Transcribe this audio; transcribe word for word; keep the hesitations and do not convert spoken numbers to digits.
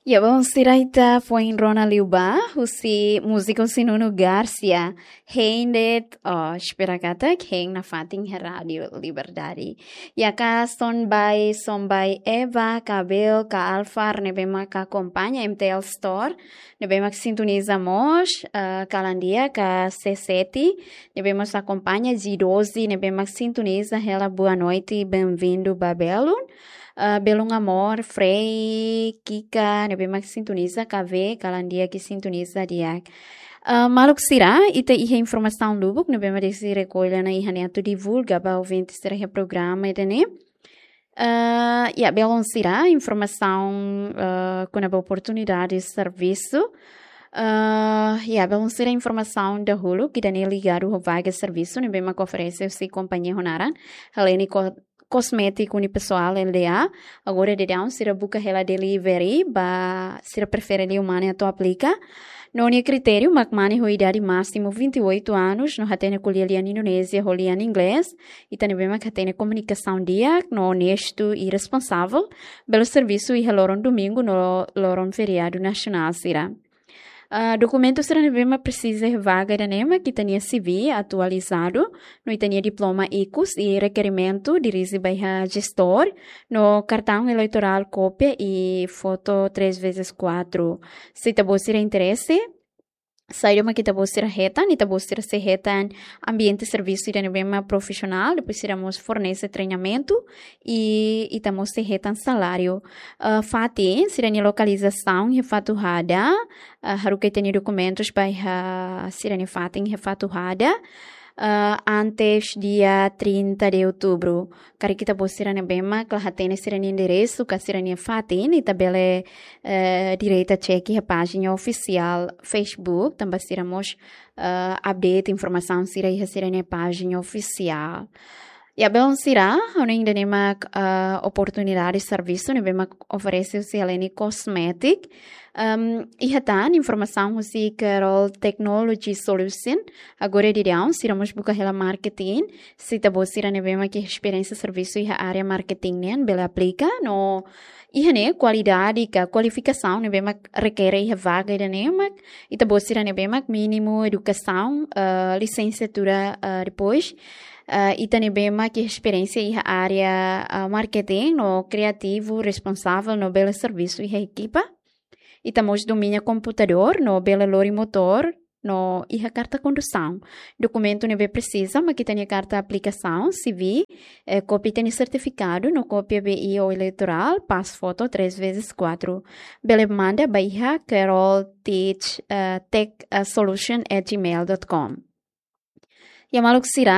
Ya, bom, sira ita foin rona liu ba, husi múzika husi Nuno Garcia. Hein de'it, oh, espera katak hein nafatin iha Rádio Liberdade. Ya, ka Son Bai, Son Bai Eva, ka Bel, ka Alfar, ne'ebé mak akompaña M T L Store, ne'ebé mak sintoniza mós, eh, kalan di'ak, ka C sete, ne'ebé mós akompaña G doze, ne'ebé mak sintoniza hela boa noite, bem-vindo ba belun. Ah, belun amor, Frei, Kika, ne'ebé mak sintoniza, K V, kalan di'ak sintoniza di'ak. Ah, maluk sira, ita iha informasaun lubuk, ne'ebé mak desi rekolla ona iha ne'e atu divulga ba ouvinte sira iha programa ida-ne'e. Ah, ya, belun sira, informasaun, ah, kona-ba oportunidade servisu. Ah, ya, belun sira, informasaun dahuluk ida-ne'e ligadu ho vaga servisu, ne'ebé mak oferese husi kompañia ho naran Helene Ko-, Cosmetic Unipessoal L D A. Agora daudaun sira buka hela delivery ba sira prefere liu mane atu aplika. No nia kritériu mak mane ho idade másimu vinte e oito anos, no hatene ko'alia lian Indonézia ho lian Inglés. Ita ne'ebé mak hatene komunikasaun di'ak, no onestu i responsavel, bele servisu iha loron domingu no loron feriadu nasionál sira. Ah, dokumentu sira ne'ebé mak presiza iha vaga ida-ne'e mak ita-nia C V atualizadu, no ita-nia diploma ikus i rekerimentu dirije ba iha jestór, no kartaun eleitorál kópia i foto três vezes quatro. Se ita-boot sira interese, saida mak ita-boot sira hetan, ita-boot sira sei hetan ambiente servisu ida ne'ebé mak profisionál, depois sira mós fornese treinamentu, i ita mós sei hetan saláriu. Ah, fatin, sira-nia lokalizasaun iha Fatuhada, ah, haruka ita-nia dokumentus ba iha sira-nia fatin iha Fatuhada, ah, antes dia trinta de outubro. Karik ita-boot sira ne'ebé mak la hatene sira-nia enderesu, ka sira-nia fatin, ita bele, eh, direta cek iha pájina ofisiál Facebook, tanba sira mós, eh, update informasaun sira iha sira-nia pájina ofisiál. Ya, belun sira, hanoin ida-ne'e mak, eh, oportunidade servisu ne'ebé mak oferese husi Helene Cosmetic. Em, iha tan informasaun husi Carol Technology Solution. Agora daudaun, sira mós buka hela marketing. Se ita-boot sira ne'ebé mak iha esperiénsia servisu iha área marketing nian, bele aplika. No iha ne'e kualidade ka kualifikasaun ne'ebé mak rekere iha vaga ida-ne'e mak, ita-boot sira ne'ebé mak mínimu edukasaun, eh, lisensiatura, eh, depois, eh, ita ne'ebé mak iha esperiénsia iha área, eh, marketing, no kriativu, responsavel, no bele servisu iha ekipa. Ita mós domina komputadór, no bele lori motór, no iha karta kondusaun. Dokumentu ne'ebé presiza mak ita-nia karta aplikasaun, C V, eh, kópia ita-nia sertifikadu, no kópia B I ou eleitorál, pas foto três vezes quatro. Bele manda ba iha Carol Teach, eh, tech, eh, solution at gmail dot com. Ya, maluk sira,